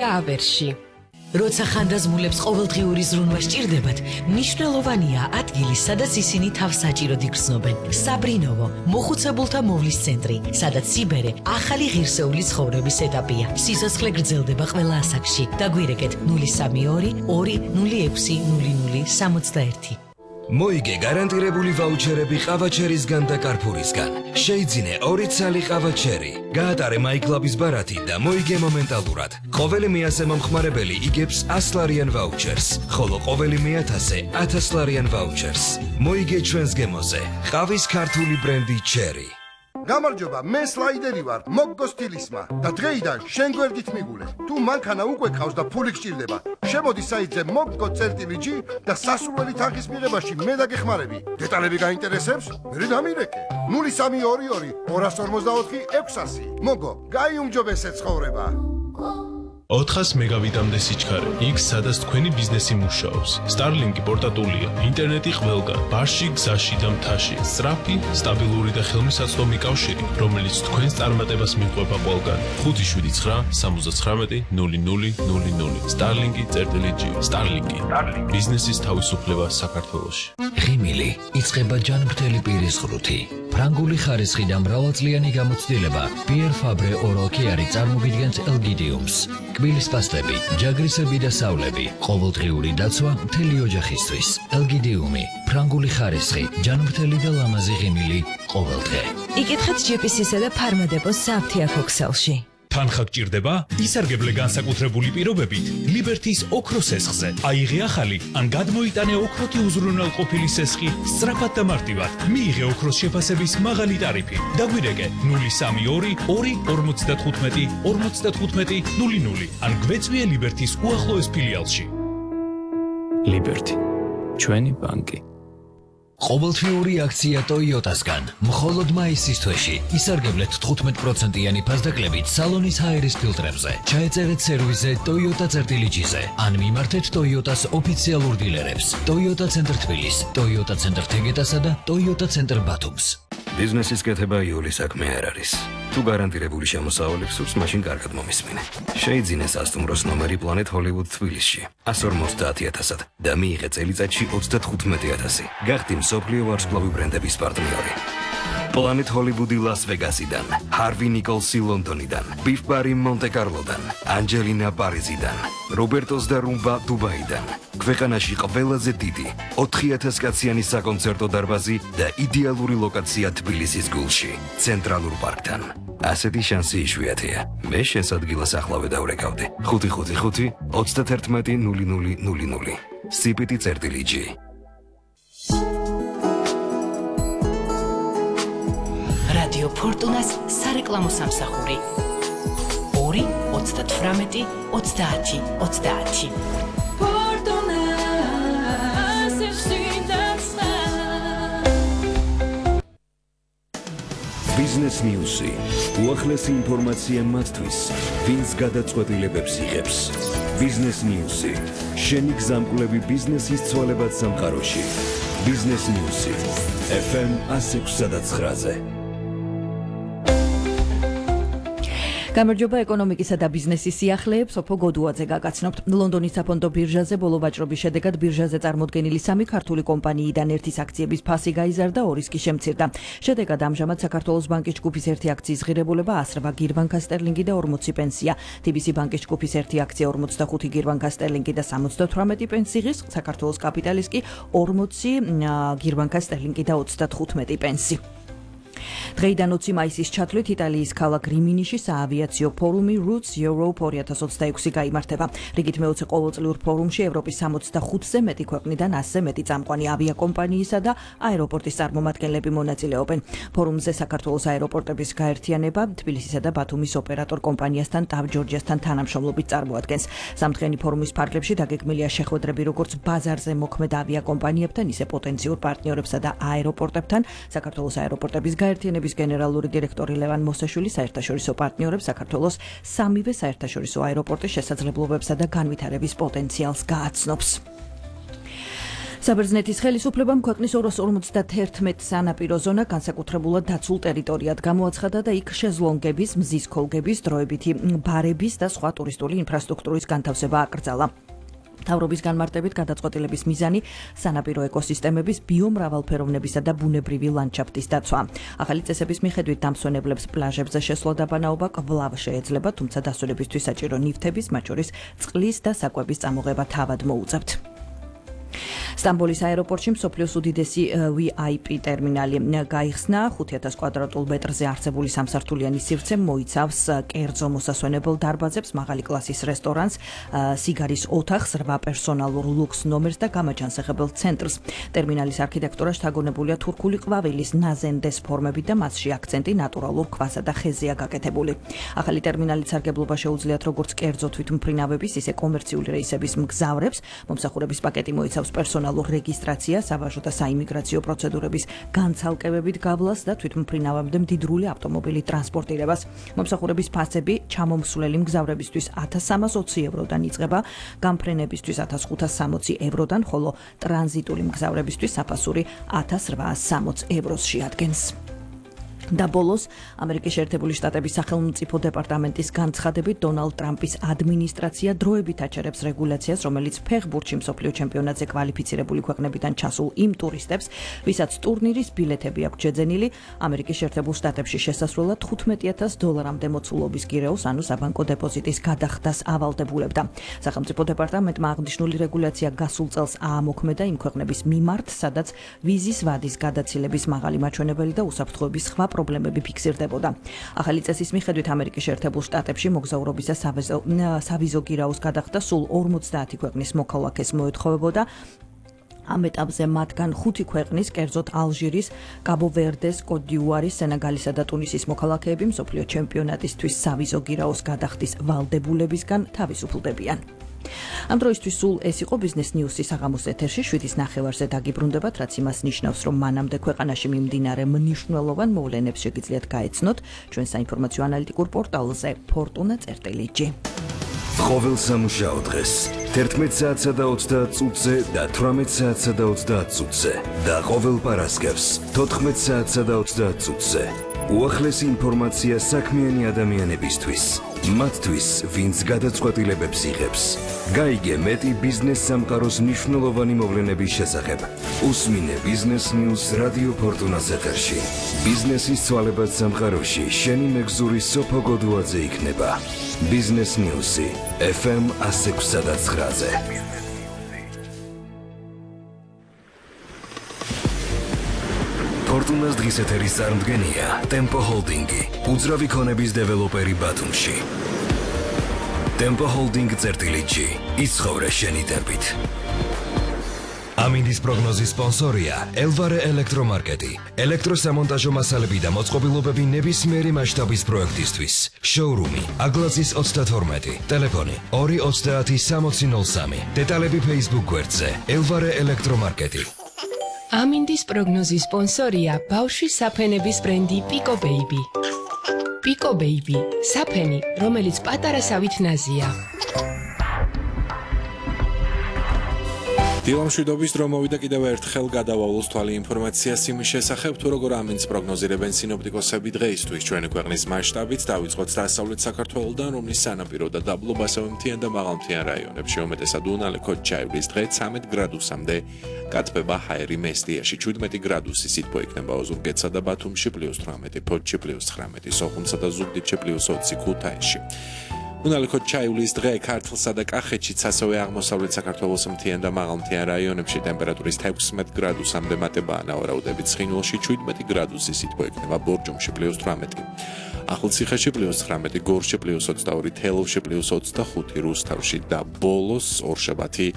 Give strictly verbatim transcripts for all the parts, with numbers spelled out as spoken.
ავერში. როცა ხანდაზმულებს ყოველდღიური ზრუნვა სჭირდებათ, მნიშვნელოვანია ადგილი, სადაც ისინი თავს საჭიროდ იგრძნობენ. საბრინოვო, მოხუცებულთა მოვლის ცენტრი, სადაც სიბერე ახალი ღირსეული ცხოვრების ეტაპია. სიცოცხლე გრძელდება ყველა ასაკში. დაგვირეკეთ ნული სამი ორი ორი ნული ექვსი ნული ნული სამოცდაერთი. მოიგე გარანტირებული ვაუჩერები ყავაჩერისგან და კარფურისგან. შეიძინე ორი ცალი ყავაჩერი. გაატარე მაიკლაბის ბარათი და მოიგე მომენტალურად. ყოველი მეათე მომხმარებელი იგებს ასლარიან ვაუჩერს, ხოლო ყოველი მეათასე ათასლარიან ვაუჩერს. მოიგე ჩვენს გემოზე. ყავის ქართული ბრენდი ჩერი. გამარჯობა, მე სლაიდერი ვარ, მოგგო სტილისმა და დღეიდან შენ გვერდით მიგულე. თუ მანქანა უკვე ყავს და ფული გჭირდება, შემოდი საიტზე მოგგო წერტილი ჯი და სასურველი თანხის მიღებაში მე დაგეხმარები. დეტალები გაინტერესებს? მე დამირეკე. ნული სამი ორი ორი ორას ორმოცდაოთხი ექვსასი. მოგო, გაიუმჯობესე ცხოვრება. ოთხას მეგავიტამდე სიჩქარე, იქ სადაც თქვენი ბიზნესი მუშაობს. Starlink-ი პორტატულია, ინტერნეტი ყველგან, ბარში, გზაში და მთაში. სწრაფი, სტაბილური და ხელმისაწვდომი კავშირი, რომელიც თქვენს წარმატებას მიყვება ყველგან. ხუთი შვიდი ცხრა სამოცდათხრამეტი ნული ნული ნული ნული. Starlink-ი წერტილი ჯი. Starlink-ი. ბიზნესის თავისუფლება საქართველოში. ღიმილი იწყება ჯანმრთელი პირის ღრუთი. ფრანგული ხარისხი და მრავალწლიანი გამოცდილება Pierre Fabre Oral Care წარმოგიდგენს ელგიდიუმს. კბილის პასტები, ჯაგრისები და სავლები, ყოველდღიური დაცვა მთელი ოჯახისთვის. ელგიდიუმი, ფრანგული ხარისხი, ჯანმრთელი და ლამაზი ღიმილი ყოველდღე. იკითხეთ ჯი პი სი-სა და ფარმადეპოს საფთიაქო ქსელში. თანხა გჭირდება? ისარგებლე განსაკუთრებული პირობებით ლიბერთის ოქროს სესხზე. აიღე ახალი ან გადმოიტანე ოქროთი უზრუნველყოფილი სესხი სწრაფად და მარტივად. მიიღე ოქროს შეფასების მაღალი ტარიფი. დაგვირეკე ნული სამი ორი ორი ორმოცდათხუთმეტი ორმოცდათხუთმეტი ნული ნული ან გვეწვიე ლიბერთის უახლოეს ფილიალში. ლიბერთი, ჩვენი ბანკი. ყოველთვიური აქცია Toyota-სგან. მხოლოდ მაისის თვეში ისარგებლეთ თხუთმეტ პროცენტიანი ფასდაკლებით სალონის ჰაერის ფილტრებზე. ჩაეწერეთ სერვისზე Toyota წერტილი ჯი-ზე ან მიმართეთ Toyota-ს ოფიციალურ დილერებს. Toyota ცენტრ თბილის, Toyota ცენტრ თეგეტასა და Toyota ცენტრ ბათუმს. ბიზნესის კეთება იული საქმე არ არის. თუ გარანტირებული შემოსავალი გსურს, მაშინ კარგად მომისმინე. შეიძინე სასტუმროს ნომერი Planet Hollywood თბილისში ასი ორმოცდაათი ათასად და მიიღე წელიწადში ოცდათხუთმეტი ათასი. გახდი მსოფლიო ვარსკვლავი ბრენდების პარტნიორი. Planet Hollywood Las Vegasიდან, Harvey Nicholsi ლონდონიდან, Beef Bar მონტე კარლოდან, Angelina პარიზიდან, Robertos და Rumba დუბაიდან. ქვეყანაში ყველაზე დიდი ოთხი ათას კაციანი საკონცერტო დარბაზი და იდეალური ლოკაცია თბილისის გულში, ცენტრალურ პარკთან. ასეთი შანსი იშვიათია. მე შენს ადგილას ახლავე დავრეკავდი. ხუთი ხუთი ხუთი ოცდაათერთმეტი ნული ნული ნული ნული. სიპიტი წერტილი ჯი. რადიო ფორტუნას სარეკლამო სამსახური ორი ოცდათვრამეტი ოცდაათი ოცდაათი. Business News-ი. უახლესი ინფორმაცია მათთვის, ვინც გადაწყვეტილებებს იღებს. Business News-ი. შენი გზამკვლევი ბიზნესის ცვალებად სამყაროში. Business News-ი. ეფ ემ ასი ექვსი და ცხრაზე. გამარჯობა ეკონომიკისა და ბიზნესის სიახლეებს ოფო გოდუაძე გაგაცნობთ. ლონდონის საფონდო ბირჟაზე ბოლო ვაჭრობის შედეგად ბირჟაზე წარმოდგენილი სამი ქართული კომპანიიდან ერთის აქციების ფასი გაიზარდა,ორის კი შემცირდა. შედეგად ამჟამად საქართველოს ბანკის ჯგუფის ერთი აქციის ღირებულება ასრვა გირვანკა სტერლინგი და ორმოცი პენსია. თი ბი სი ბანკის ჯგუფის ერთი აქცია ორმოცდახუთი გირვანკა სტერლინგი და სამოცდათვრამეტი პენსი ღირს, საქართველოს კაპიტალის კი ორმოცი გირვანკა სტერლინგი და ოცდათხუთმეტი პენსი. დღეიდან ოცი მაისის ჩათვლით იტალიის ქალაქ რიმინიში საავიაციო ფორუმი Roots Europe ორი ათას ოცდაექვსი გაიმართება. რიგით მეოცე ყოველწლიურ ფორუმში ევროპის სამოცდახუთზე მეტი ქვეყნიდან ასზე მეტი წამყვანი ავიაკომპანიისა და აეროპორტის წარმომადგენლები მონაწილეობენ. ფორუმზე საქართველოს აეროპორტების გაერთიანება თბილისისა და ბათუმის ოპერატორ კომპანიასთან TAV Georgiasთან თანამშრომლობით წარმოადგენს. სამთხრენი ფორუმის ფარგლებში დაგეგმილია შეხვედრები როგორც ბაზარზე მოქმედ ავიაკომპანიებთან, ისე პოტენციურ პარტნიორებსა და აეროპორტებთან. საქართველოს აეროპორტების გაერთიანების გენერალური დირექტორი ლევან მოსაშვილი საერთაშორისო პარტნიორებს საქართველოს სამივე საერთაშორისო აეროპორტის შესაძლებლობებსა და განვითარების პოტენციალს გააცნობს. საბერძნეთის ხელისუფლებამ ქვეყნის ორას ორმოცდაერთმეტ სანაპირო ზონა განსაკუთრებულად დაცულ ტერიტორიად გამოაცხადა და იქ შეზლონგების, მზის ქოლგების, დროებითი ბარების და სხვა ტურისტული ინფრასტრუქტურის განთავსება აკრძალა. მთავრობის განმარტებით გადაწყვეტილების მიზანი სანაპირო ეკოსისტემების ბიომრავალფეროვნებისა და ბუნებრივი ლანდშაფტის დაცვა. ახალი წესების მიხედვით დამსვენებლებს პლაჟებზე შესვლა და ბანაობა კვლავ შეეძლება, თუმცა დასვენებისთვის საჭირო ნივთების, მათ შორის წყლის და საკვების წამოღება თავად მოუწევთ. სტამბოლის აეროპორტში მსოფლიოს უდიდესი ვი აი პი ტერმინალი გაიხსნა. ხუთი ათას კვადრატულ მეტრზე არსებული სამსართულიანი სივრცე მოიცავს კერძო მოსასვენებელ დარბაზებს, მაღალი კლასის რესტორანს, სიგარის ოთახს, რვა პერსონალურ ლუქს ნომერს და გამაჯანსაღებელ ცენტრს. ტერმინალის არქიტექტურა შთაგონებულია თურქული ყვავილის ნაზენდეს ფორმებით და მასში აქცენტი ნატურალურ ქვასა და ხეზეა გაკეთებული. ახალი ტერმინალის სარგებლობა შეუძლიათ როგორც კერძო თვითმფრინავების, ისე კომერციული რეისების მგზავრებს. მომსახურების პაკეტი მოიცავს პერსონალურ რეგისტრაციას, საბაჟო და საიმიგრაციო პროცედურების განცალკევებით გავლას და თვითმფრინავებამდე მდიდრული ავტომობილის ტრანსპორტირებას. მომსახურების ფასები ჩამომსვლელი მგზავრებისთვის ათას სამას ოცი ევროდან იწყება, გამფრენებისთვის ათას ხუთას სამოცი ევროდან, ხოლო ტრანზიტული მგზავრებისთვის საფასური ათას რვაას სამოცი ევროს შეადგენს. და ბოლოს ამერიკის შეერთებული შტატების სახელმწიფო დეპარტამენტის განცხადებით დონალდ ტრამპის ადმინისტრაცია დროებით აჩერებს რეგულაციას, რომელიც ფეხბურთში მსოფლიო ჩემპიონატზე კვალიფიცირებული ქვეყნებიდან ჩასულ იმ ტურისტებს, ვისაც ტურნირის ბილეთები აქვს შეძენილი, ამერიკის შეერთებულ შტატებში შესასვლელად თხუთმეტი ათას დოლარამდე მოცულობის გირეოს, ანუ საბანკო დეპოზიტის გადახდას ავალდებულებდა. სახელმწიფო დეპარტამენტმა აღნიშნული რეგულაცია გასულ წელს აამოქმედა იმ ქვეყნების მიმართ, სადაც ვიზის ვადის გადაცილების მაღალი მაჩვენებელი და უსაფრთხოების სხვა პრობლემები ფიქსირდებოდა. ახალი წესის მიხედვით ამერიკის შეერთებულ შტატებში მოგზაურობისა სავიზო გირაოს გადახდა სულ ორმოცდაათი ქვეყნის მოქალაქეს მოეთხოვებოდა. ამ ეტაპზე მათგან ხუთი ქვეყნის, კერძოდ ალჟირის, კაბო-ვერდეს, კოტ-დ'ივუარის, სენეგალისა და ტუნისის მოქალაქეები მსოფლიო ჩემპიონატისთვის სავიზო გირაოს გადახდის ვალდებულებისგან თავისუფლდებიან. ამ დროისთვის სულ ეს იყო ბიზნეს ნიუსის საღამოს ეთერში. შვიდის ნახევარზე დაგიბრუნდებათ, რაც იმას ნიშნავს, რომ მანამდე ქვეყანაში მიმდინარე მნიშვნელოვან მოვლენებს შეგიძლიათ გაეცნოთ ჩვენ საინფორმაციო ანალიტიკურ პორტალზე ფორტუნა წერტილი ჯი. ყოველ სამუშაო დღეს თერთმეტ საათსა და ოცდაათ წუთზე და თვრამეტ საათსა და ოცდაათ წუთზე და ყოველ პარასკევს თოთხმეტ საათსა და ოცდაათ წუთზე. უახლესი ინფორმაცია საქმიანი ადამიანებისთვის, მათთვის, ვინც გადაწყვეტილებებს იღებს. გაიგე მეტი ბიზნეს სამყაროს მნიშვნელოვანი მოვლენების შესახებ. უსმინე ბიზნეს ნიუს რადიო ფორტუნას ეთერში. ბიზნესის ცვალებად სამყაროში შენი მეგზური სოფო გოდუაძე იქნება. ბიზნეს ნიუსი ეფ ემ ათს ექვსსა და ცხრაზე. ფორტუნას დღის ეთერის წარმდგენია ტემპო ჰოლდინგი, უძრავი ქონების დეველოპერი ბათუმში. ტემპო ჰოლდინგ წერტილი ჯი, იცხოვრე შენი ტემპით. ამინდის პროგნოზის სპონსორია ელვარე ელექტრომარკეტი. ელექტროსამონტაჟო მასალები და მოწყობილობები ნებისმიერი მასშტაბის პროექტისთვის. შოურუმი აგლაძის ოცდათორმეტი, ტელეფონი ორი ოცდაათი სამოცი ნოლ სამი. დეტალები Facebook გვერდზე ელვარე ელექტრომარკეტი. ამინდის პროგნოზის სპონსორია ბავშვის საფენების ბრენდი პიკო ბეიბი. პიკო ბეიბი, საფენი, რომელიც პატარა სავით ნაზია. დილამშვიდობის დრო მოვიდა კიდევ ერთხელ გადავავლოს თვალი ინფორმაციას იმის შესახებ, თუ როგორ ამინდს პროგნოზირებენ სინოპტიკოსები დღეისთვის ჩვენი ქვეყნის მასშტაბით. დავიწყოთ დასავლეთ საქართველოდან, რომლის სანაპირო და დაბლობ ასევე მთიან და მაღალმთიან რაიონებში უმეტესად უნალე ქოჩაივის დღე ცამეტ გრადუსამდე გაწება ჰაერი მესტიაში, შვიდმეტი გრადუსი სითბო იქნება ოზურგეთსა და ბათუმში, პლუს თვრამეტი, ფოთში პლუს ცხრამეტი, სოხუმსა და ზუგდიდში პლუს ოცი, ქუთაისში. უნალე ქოჩაივის დღე ქართლსა და კახეთშიც, ასევე აღმოსავლეთ საქართველოს მთიან და მაღალმთიან რაიონებში ტემპერატურის ექვსმეტ გრადუსამდე მატებაა ნავარაუდებით. ცხინვალში შვიდმეტი გრადუსი სითბო იქნება, ბორჯომში პლუს თვრამეტი, ახალციხეში პლუს ცხრამეტი, გორში პლუს ოცდაორი, თელავში პლუს ოცდახუთი, რუსთავში და ბოლოს ორშაბათი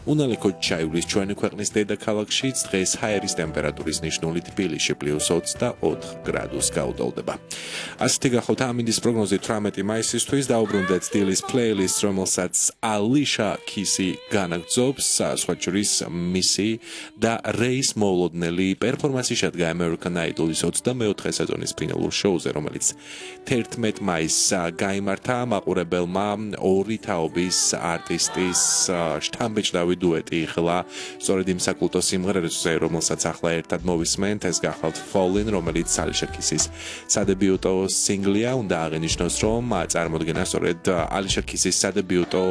უნალე ქოჩაივის ჩვენი ქვეყნის დედაქალაქშიც დღეს ჰაერის ტემპერატურის ნიშნული თბილისში პლუს ოცდაოთხ გრადუსს გაუდავდება. ასეთი გახლავთ ამინდის პროგნოზი თვრამეტი მაისისთვის. დაუბრუნდეთ დილის პლეილისტს, რომელსაც ალიშა კისი განაგრძობს, სხვა შორის მისი და რეის მოულოდნელი პერფორმანსი შედგა American Idol-ის ოცდამეოთხე სეზონის ფინალურ შოუზე, რომელიც თერთმეტ მაისს გაიმართა. მაყურებელმა ორი თაობის არტისტის შთამბეჭდავი დუეტი იხლა სწორედ იმ საკულტო სიმღერებზე, რომელსაც ახლა ერთად მოვისმენთ, ეს გახლავთ Fallen, რომელიც Alicia Keys-ის სადებიუტო სინგლია, უნდა აღინიშნოს, რომ წარმოდგენა სწორედ Alicia Keys-ის სადებიუტო